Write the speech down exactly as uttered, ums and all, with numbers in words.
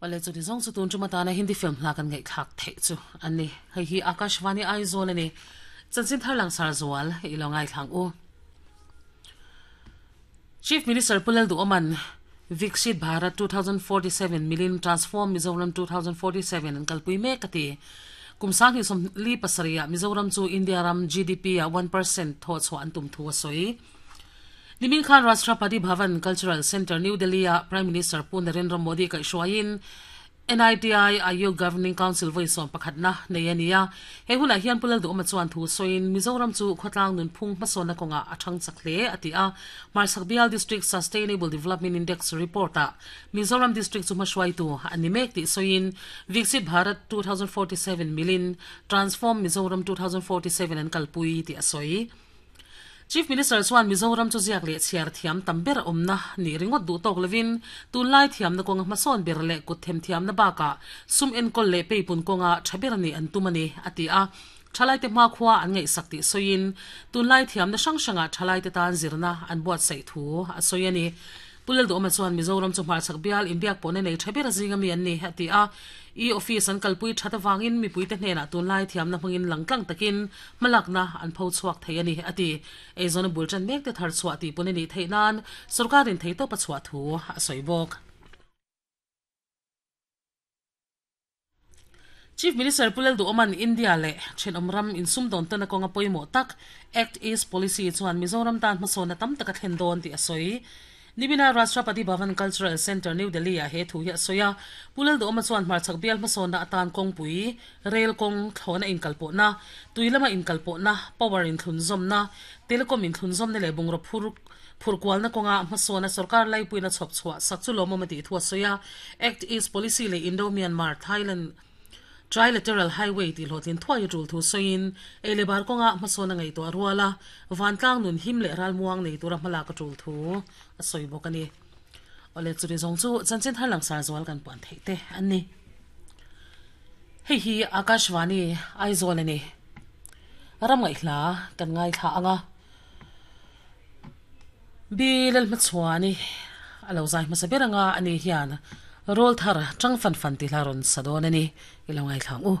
Wale chu ti zong chu tun chuma tana Hindi film hla kan ngai thak thei chu ani hei hi Akashvani Aizawl ani chanchin thar lang sar zual ilo ngai thlang u. Chief Minister Pulal Du Oman Viksit Bharat twenty forty-seven Million Transform Mizoram twenty forty-seven an kalpui mek ati kumsang hi som li pasaria Mizoram chu India ram G D P a one percent tho chu an tum thu soi. Nimin Khan Rashtrapati Bhavan Cultural Center New Delhi a Prime Minister Pu Narendra Modi kai hruaiin N I T I Aayog Governing Council voi som pakhatna nei ania he huna hian pulal du oma chuan thu soin Mizoram chu khotlang nun phung hmasona konga athang chakle ati a Marsak Bial District Sustainable Development Index report a Mizoram District chu hmahruai tu ani mek ti soin Viksit Bharat twenty forty-seven Million Transform Mizoram twenty forty-seven an kalpui ti a soi. Chief Minister chuan Mizoram chu ziak le chiar thiam tamber omna ni ringot du tok levin tunlai thiam na konga hmasawn ber le kut them thiam na baka sum enkol le peipun konga thaber ni an tumani ati a thalai te ma khwa an ngai sakti soin tunlai thiam na sang sanga thalai te tan zirna an buat sei thu a soyani pulel do ma chuan Mizoram chu hmar chak bial India pone nei thaber zinga mi an ni ati a e office an kalpui thata wangin mi puite hnena tunlai thiam na hmangin langtlang takin malakna an pho chuak thei ani ati eizon bul chan mek te thar chua ti pone ni theinan sarkarin theito pa chua thu a soibok. Chief Minister Pulal Du Oman India le chen omram in sum don tana konga poimo tak Act East Policy chuan Mizoram tan hmasona tam taka thlen don ti asoi. Nimina Rashtrapati Bhavan Cultural Center New Delhi a he thu hi soya pulal do ma chuan hmar chak bial hmasona atan kongpui rail kong thlona in kalpo na tuilama in kalpo na power in thlun zom na telecom in thlun zom ne le bungro phur phurkwal na konga hmasona sarkar lai puina chhop chhuwa sakchu lomo ma ti thu soya Act East Policy le Indo Myanmar Thailand Trilateral Highway ti hlotlin thuai tul thu soin elebar konga hmasona ngai to arwala vantlang nun him le ral muang nei tura hmala ka tul thu a soi bokani ole churi zong chu chanchin tharlang sar zawal kan puan thei te anni hei hi Akashvani Aizawl ani ram ngai hla kan ngai thla anga bilal machuani alo zai hmasa beranga ani hian rol thar chang fan fan ti laron sadon ani ilo ngai thlang u.